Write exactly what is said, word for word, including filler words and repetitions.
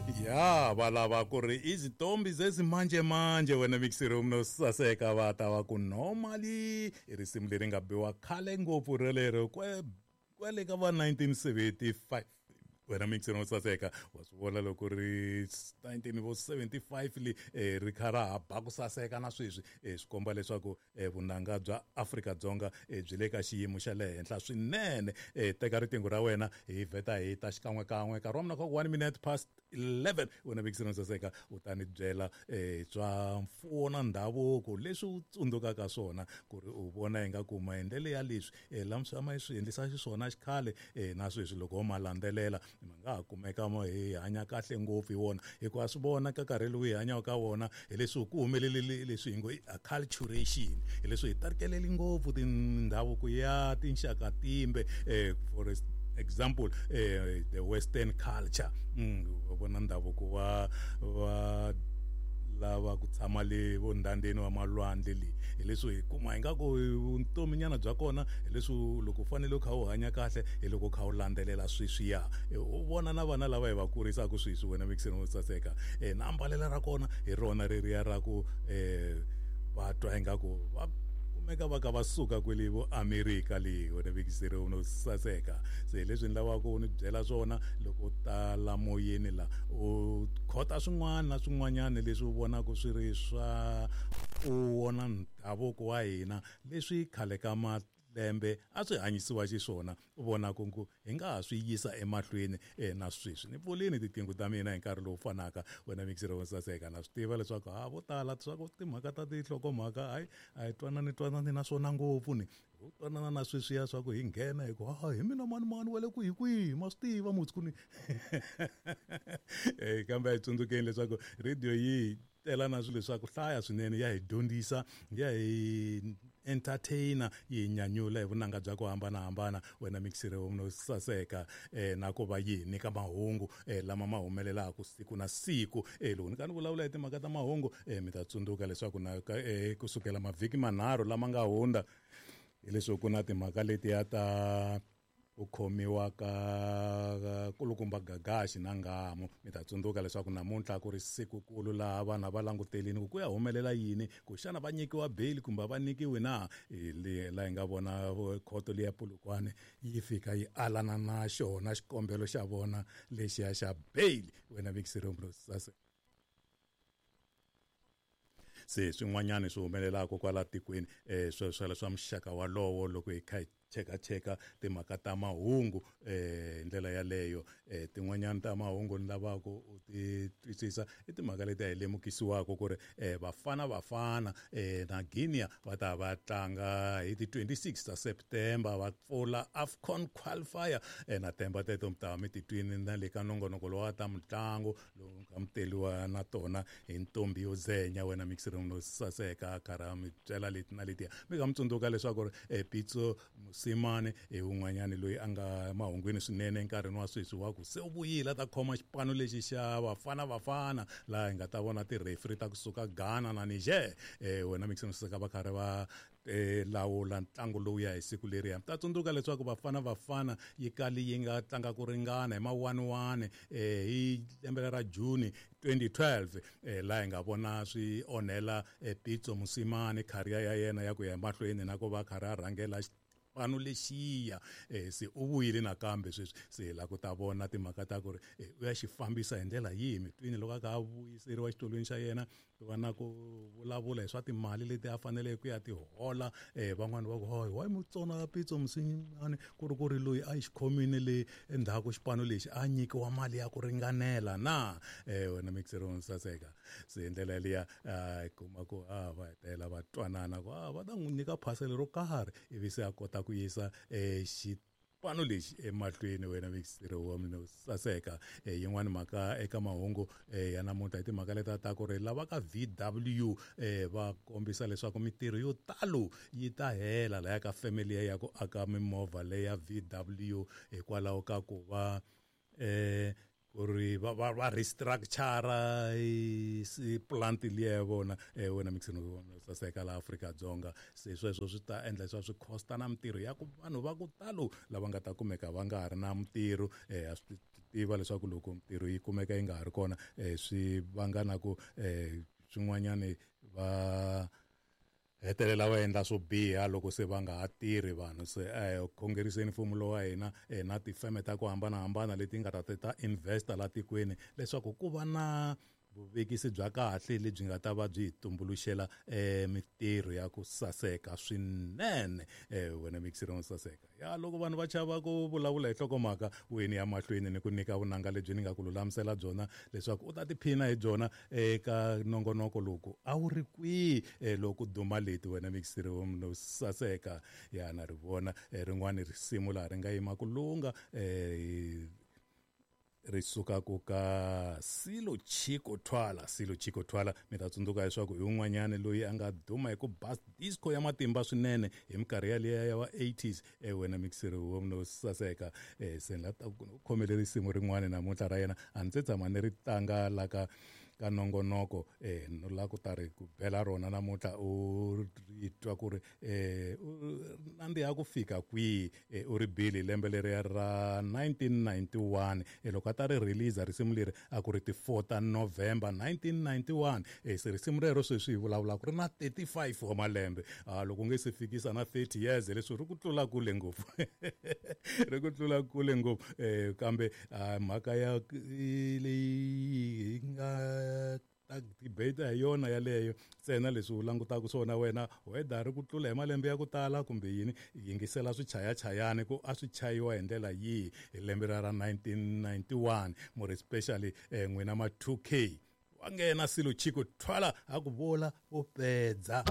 Ya va lava ku ri izitombi zezimanjemanje wena mixiro no saseka va ta va ku normally i risimu leri nga biwa khale ngopfu relero kwe kwale ka va nineteen seventy-five wena mixiro no saseka wa swi vona loko ri nineteen seventy-five li ri kha ra ha ba ku saseka na sweswi swi komba leswaku vunanga bya Afrika-Dzonga byi le ka xiyimo xa le henhla swinene. Teka riqingho ra wena hi vheta hi ta xikan'wekan'we nkarhi wa mina kha one minute past eleven wena mixiro no saseka u ta ni byela swa mfuwo na ndhavuko leswi u tsundzukaka swona ku ri u vona ingaku maendlelo ya leswi lama ma swi endlisa xiswona xikhale na sweswi loko ho ma landzelela ma nga ha kumeka mo hi hanya kahle ngopfu hi wona hikuva swi vona ka nkarhi lowu hi hanyaka ka wona hi leswi ku humelele leswi hi ngo i acculturation hi leswi hi tarkeleli ngopfu tindhavuko ya tinxaka timbe for example eh, the western culture mm, vona ndhavuko wa wa lava ku tshama le vondandeni wa malwandle le hi leswi hi kuma ingaku vutominyana bya kona hi leswi loko u fanele u kha u hanya kahle hi loko u kha u landzelela sweswiya u vona na vana lava hi va kurisaka sweswi wena mixini wo saseka na ambalelo ra kona hi rona reriya ra ku va twa ingaku va kumeka va ka va suka kwele vo Amerika le wena mixini wo saseka se leswi ni lavaka ku ni byela swona loko u ta la moyeni la u khota swin'wana na swin'wanyana leswi u vonaka swi ri swa u wona ndhavuko wa hina leswi khale ka malembe a swi hanyisiwa xiswona u vona ku ku hi nga ha swi yisa emahlweni na sweswi ni pfulini tiqingho ta mina hi nkarhi lowu fanaka wena mixiro wo saseka na swi tiva leswaku ha vo tala swa ku timhaka ta tinhlokomhaka hayi a hi twanani twanani na swona ngopfu ni u twanana na sweswiya swa ku hi nghena hi ku ha hi mina mani mani wa le kwihi kwihi ma swi tiva mutsi ku ni kambe a hi tsundzukeni leswaku radio yi tela na swilo swa ku hlaya swinene ya hi dyondzisa ya hi entertainer yi nyanyula hi vunanga bya ku hambanahambana wena mixiro no saseka na ku va yi nyika mahungu lama ma humelelaka siku na siku. Loko ni ka ni vulavula hi timhaka ta mahungu mi ta tsundzuka leswaku na kusukela mavhiki manharhu lama nga hundza hileswi ku na timhaka letiya ta u khomiwa ka kulukumba Gagashi na Nghamu mi ta tsundzuka leswaku namuntlha ku ri sikukulu laha vanhu va langutelini ku ku ya humelela yini ku xana va nyikiwa bail kumbe va nyikiwi na laha hi nga vona khoto liya Polokwane yi fika yi alana na xona xikombelo xa vona lexiya xa bail wena mixiro sase se swin'wanyana swi humelelaka kwala tikweni eh sweswo swa muxaka walowo loko hi kha hi cheka cheka timhaka ta mahungu eh ndlela yaleyo eh tin'wanyana ta mahungu ni lavaka u ti twisisa i timhaka leti hi lemukisiwaka ku ri eh Bafana Bafana eh na Guinea va ta va tlanga hi ti twenty-six ta September va pfula AFCON qualifier eh na temba teto mi ta mi titwini na le ka nongonoko lowa ta mitlangu lowu nga muteliwa na tona hi ntombi yo zenya wena mixiro no saseka karha mi byela leti na letiya mi nga mi tsundzuka leswaku eh Pitso Mosimane i un'wanyana loyi a nga mahungwini swinene enkarhini wa sweswi wa ku se u vuyile a ta khoma xipano lexi xa Bafana Bafana laha hi nga ta vona ti-referee ta kusuka Ghana na Niger eh wena mixiro saseka va karhi va lawula ntlangu lowu ya hi siku leriya mi ta tsundzuka leswaku Bafana Bafana yi kali yi nga tlanga ku ringana hi ma one one eh hi lembe ra June twenty twelve eh laha hi nga vona swi onhela Pitso Mosimane career ya yena ya ku ya emahlweni na ku va karhi a rhangela xipano lexiya eh se u vuyile nakambe sweswi se la ku ta vona timhaka ta ku ri u ya xi fambisa hi ndlela yihi mitwini loko a ka a vuyiseriwa xitulwini xa yena ku va na ku vulavula hi swa timali leti a faneleke ku ya ti hola eh van'wani va ku hayi why mutsona Pitso Mosimane ku ri ku ri loyi a yi xikhomini le endzhaku xipano lexi a nyikiwa mali ya ku ringanela na eh wena mixero saseka se ndlela liya a kuma ku a va hetela va twanana ku a va ta n'wi nyika phaselo ro karhi ivi se a kota ku yisa eh xipano lexi emahlweni wena mixiro wa mina saseka yin'wana mhaka eka mahungu ya namuntlha hi timhaka leta ta ku ri lava ka V W eh va kombisa leswaku mitirho yo talo yi ta hela laya ka family ya ku aka mimovha leya V W hikwalaho ka ku va eh ku ri va va va restructure si plant liya ya vona eh wena mixini saseka la Afrika-Dzonga se sweswo swi ta endla leswaku swi costa na mitirho ya ku vanhu va ku talo lava nga ta kumeka va nga ha ri na mitirho eh a swi tiva leswaku loko mintirho yi kumeka yi nga ha ri kona um swi vanga na ku um swin'wanyani va hetelela va endla swo biha loko se va nga ha tirhi vanhu. Se eh khongeriseni mfumo lowa wa hina eh, na tifeme ta ku hambanahambana leti nga ta ta investa la tikweni leswaku ku va na vuvekisi bya kahle lebyi nga ta va byi hi tumbuluxela eh mintirho ya ku saseka swinene. Eh wena mixiro wo saseka ya loko vanhu va chava ku vulavula hi nhlokomhaka wini ya mahlweni ni ku nyika vunanga lebyi ni nga ku lulamisela byona leswaku u ta tiphina hi byona eka nongonoko loko a wu ri kwihi eh, loko duma leti wena mixiro wo saseka ya na ri vona eh, rin'wani risimu laha ri nga yima ku lunga eh, ri suka ku ka Silo Chicco Twala. Silo Chicco Twala mi ta tsundzuka leswaku hi un'wanyani loyi a nga duma hi ku bass disco ya matimba swinene hi minkarhi yaliya ya va eighties. E wena mixiri wo no saseka e se ni la ta ku khomele risimu rin'wani namuntlha ra yena a ndzi tshama ni ri tlanga la ka ka nongonoko eh no la ku ta ri ku bela rona namuntlha u ri twa ku ri eh nandziha ku fika kwihi. Eh, u ri bili lembe leriya ra nineteen ninety-one eh, loko a ta ri release risimu leri a ku ri ti four ta November nineteen ninety-one. Eh, se risimu rero sweswi hi vulavula ku ri na thirty-five wa malembe. Ah, loko u nge se fikisa na thirty years leswi ri ku tlula kule ngopfu ri ku tlula kule ngopfu. Eh, kambe ah, mhaka ya leyi hi nga ta debate hi yona yaleyo ntsena leswi u langutaka swona wena whether ri ku tlula hi malembe ya ku tala kumbe yini, yingisela swichayachayani ku a swi chayiwa hi ndlela yihi hi lembe ra ra nineteen ninety-one, more especially eh, n'wina ma two K wa nghena Silo Chicco Twala a ku vula vo pedza.